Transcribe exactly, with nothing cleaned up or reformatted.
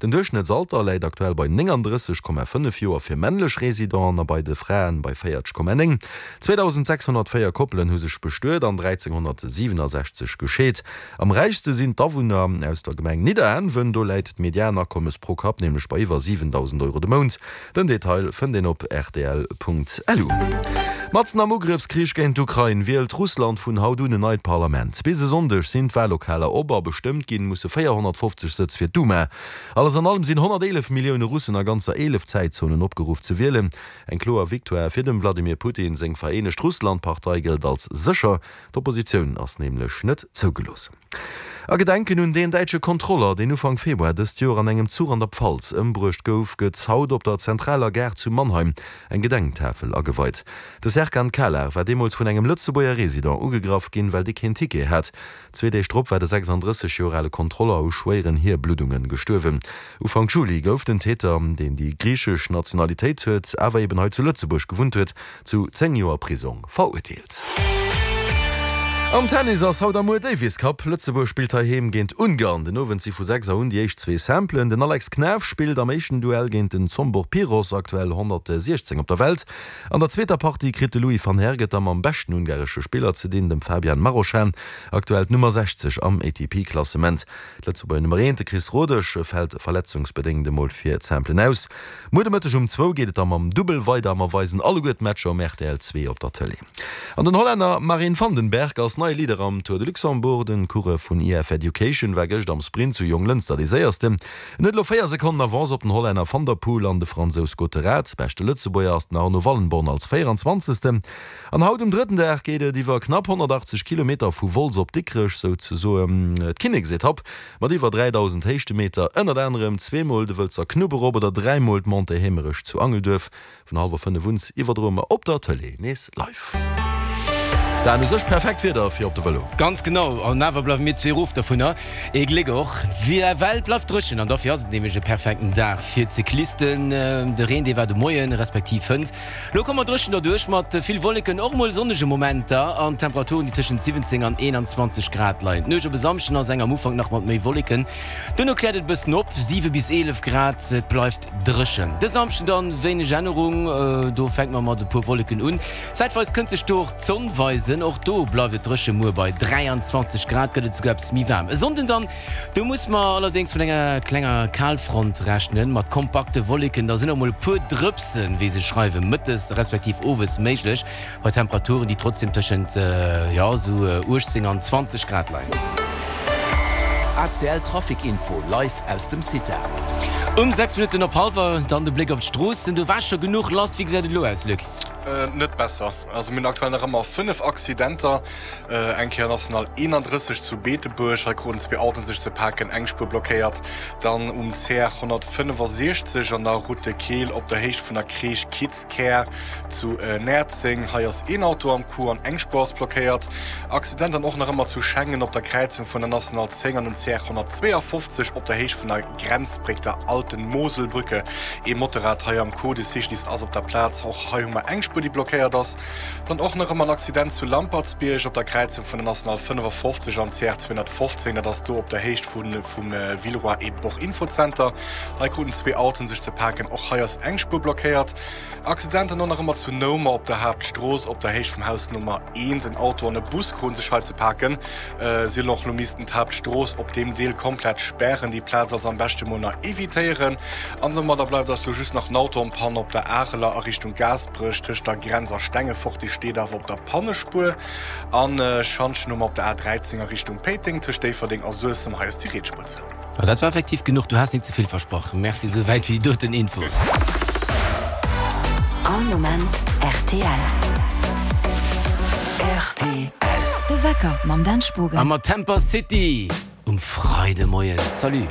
Den Duerchschnëttsalter läit aktuell bei nénganddrësseg Komma fënnef Joer fir männlech Residenten a bei de Fraen bei véierzeg Komma néng. zweedausendsechshonnertvéier Koppelen hu sech bestuet an dräizénghonnertsiwwenasechzeg gescheet. Am räichste sinn d'Awunner aus der Gemeng Nidderaanwen, do läit d'Medianakommes pro Kapp nämlech bei iwwer siwendausend Euro de Mount. Den Detail fënnt een op rtl.lu. Matzen am Ugrëffskrich géint d'Ukrain wielt Russland vun haut un en neit Parlament. Bis e Sonndeg sinn d'Wallokaler op a bestëmmt ginn musse véierhonnertfofzeg Sëtz fir d'Duma. Alles an allem sinn honnerteelef Millioune Russen a ganzer eelef Zäitzonen opgeruff ze wielen. Eng kloer Victoire fir dem Wladimir Putin seng Vereenegt Russland-Partei gëllt als sécher. D'Oppositioun ass nämlech net zougelooss. A Gedenken un deen däitsche Kontroller, deen Ufank Februar dëst Joer an engem Zuch an der Pfalz ëmbruecht gouf, gëtt haut op der zentraler Gare zu Mannheim eng Gedenktafel ageweit. De Serkan Kalar war deemools vun engem Lëtzebuerger Resident ugegraff ginn, well dee keen Ticket hat. Zwee Deeg drop war de sechsanddrësseg Joer ale Kontroller u schwéieren Hierbluddunge gestuerwen. Ufank Juli gouf den Täter, deen déi griichesch Nationalitéit huet, awer eben hei zu Lëtzebuerg gewunnt huet, zu zéng Joer Prisong verurteelt. Am Tennis ass haut a muer Davis Cup. Lëtzebuerg spillt heiheem géint Ungarn. Den Owend si vu sechs Auer un déi éischt zwee Simplen. Den Alex Knaff spillt am éischten Duell géint den Zsombor Piros, aktuell honnertsiechzéng op der Welt. An der zweeter Partie kritt de Louis van Herck et da mam beschten ungaresche Spiller ze dinn, dem Fabian Marozsan, aktuell d'Nummer sechzeg am A T P-Klassement. D'Lëtzebuerger Nummer eent, de Chris Rodesch, fält verletzungsbedéngt emol fir d'Simplen aus. Muer de Mëtteg um zwou geet et da mam Dubbel weider a mer weisen alleguer d'Matcher um R T L zwee op der Tëlee. An den Hollänner Marin van den Berg ass neie Leader am Tour de Luxembourg. Den Coureur vun E F Education war gëscht am Sprint zu Jonglënster dee Séiersten. En huet elo véier Sekonnen Avance op den Hollänner Van der Poel an de Fransous Gotterat. Beschte Lëtzebuerger ass den Arno Wallenborn als véieranzwanzegsten. An haut um drëtten Dag geet et iwwer knapp honnertachtzeg Kilometer vu Wolz op Dikrech, souzesoen d'Kinneksetapp mat iwwer dräidausend Héichtemeter, ënnert anerem zweemol de Wëlzer Knupp erop oder dräimol d'Montée Heemerech zu Angelduerf. Vun hallwer fënnef un iwwerdroe mer op der Tëlee nees live. Dan, u sech perfekt Wieder fir op de Vëlo. Ganz genau, an awer bleiwe mir zwee erof dovunner. Ee Gléck och, well et bleift dréchen an dofir ass et nämlech e perfekten Dag fir d'Cyclisten. De Reen, dee war de Moien, respektiv hënt. Lo komme mer dréchen derduerch mat vill Wolleken, och mol sonnege Momenter an Temperaturen, déi tëschent siwwenzéng an eenanzwanzeg Grad leien. D'Nuecht op e Samschden ass eng am Ufank nach mat méi Wolleken, duerno kläert et e bëssen op, siwe bis eelef Grad, et bleift dréchen. De Samschden dann wéineg Ännerung, do fänke mer mat e puer Wolleken un. Zäitweis kënnt sech do och d'Sonn weisen, och do bleift et dréche. Muer bei dräianzwanzeg Grad gëtt et souguer eppes méi waarm. E Sonnden dann, do muss mer allerdéngs mat enger klenger Kalfront rechnen, mat kompakte Wolleken. Da sinn och mol e puer Drëpsen, wéi se schreiwen, mëttes respektiv owes méiglech, bei Temperaturen, déi trotzdem tëschent, jo, esou uechtzéng an zwanzeg Grad leien. A C L Trafic Info live aus dem CITA. Um sechs Minutten op hallwer dann de Bléck op d'Stroossen. Do war scho genuch lass. Wéi gesäit et elo aus, Luc? Net besser. Also mir hunn aktuell nach ëmmer fënnef Accidenter. Eng Kéier National eenandrësseg zu Beetebuerg, hei kruten zwee Autoen sech ze paken, eng Spuer blockéiert. Dann um C R honnertfënnefasechzeg an der Route de Keel op der Héicht vun der Kreesch Kitzkär zu Näerzeng, hei ass een Auto am Coup an eng Spuer ass blockéiert. Accident dann och nach ëmmer zu Schengen op der Kräizung vun der National zéng an dem C R honnertzweeafofzeg op der Héicht vun der Grenzbréck, der Alten Moselbrücke, ee Motorrad hei am Coup, de C G D I S ass op der Plaz, och hei hu mer eng Spuer déi blockéiert ass. Dann och nach ëmmer en Accident zu Lampertsbierg op der Kräizung vun der National fënnefafofzeg an C R zweehonnertfofzéng, dat ass do op der Héicht vu vum Villeroy et Boch Infozenter. Hei kruten zwee Autoen sech ze paken, och hei ass eng Spuer blockéiert. Accident dann och nach ëmmer zu Noumer op der Haaptstrooss op der Héicht vum Haus Nummer eent, en Auto an e Bus kruten sech hei ze paken. Si hunn och elo missten d'Haaptstrooss op deem Deel komplett spären, déi Plaz also am beschte mol nach evitéieren. An domadder bleift eis elo just nach en Auto en panne op der Areler a Richtung Gaasperech tëscht der Grenz a Stengefort, déi steet awer op der Pannespuer. An Schantjen hu mer op der A dräizéng a Richtung Péiteng tëscht Déifferdeng a Suessem, hei ass déi riets Spuer zou. Ma dat war effektiv genuch, du has nit ze vill versprach. Merci souwäit fir déi doten Infos. All Moment R T L. R T L. De Wecker mam Dan A Spogen. mat Temper City um Freidemoien. Salut.